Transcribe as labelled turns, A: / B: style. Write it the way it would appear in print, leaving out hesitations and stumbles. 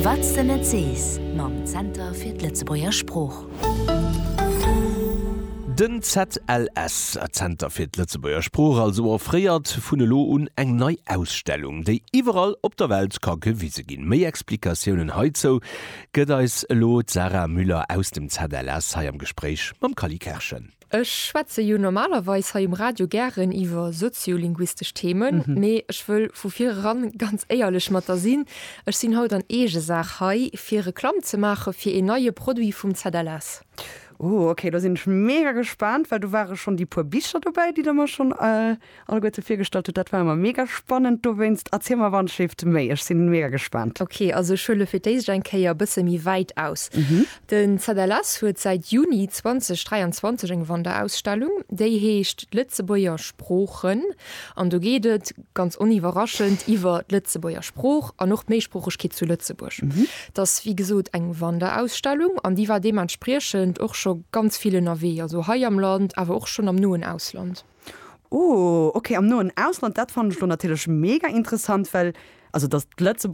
A: Wat s de net sees mam Zenter fir d'Lëtzebuerger Sprooch.
B: Den ZLS, Zenter fir d'Lëtzebuerger Sprooch also, offréiert vun elo un eng nei Ausstellung, déi iwwerall op der Welt ka gewise ginn. Méi Explikatiounen heizou gëtt eis elo d'Sarah Müller aus dem ZLS hei am Gespréich mam Cally Kerschen.
C: Ech schwätze jo normalerweis hei um Radio gären iwwer soziolinguistesch Themen, mee ech wëll vu vir eran ganz éierlech mat der sinn, Ech sinn haut an Eegesaach hei, fir Reklamm ze maache fir een neie Produit vum ZLS.
D: Oh ok, do sinn ech mega gespaant, well do ware schonn déi puer Bicher dobäi, déi der mer schonn alleguerte virgestallt hutt. Dat war ëmmer mega spannend, dowéinst erziel mer wannschlift méi, ech sinn mega gespaant.
C: Ok, also ech huele fir d'éischt eng Kéier e bësse méi wäit aus. Den ZLS huet säit Juni 2023 eng Wanderausstellung, déi heescht D'Lëtzebuerger Sproochen an do geet et, ganz oniwwerraschend, iwwer d'Lëtzebuerger Sprooch an och d'Méisproochegkeet zu Lëtzebuerg. Et ass wéi gesot eng Wanderausstellung an déi war deementspriechend och scho ganz vill ënnerwee, also hei am Land, awer och schonn am noen Ausland.
D: Oh, ok, am noen Ausland, dat fannen ech lo natierlech mega interessant, well, also dass d'Lëtzebuerger.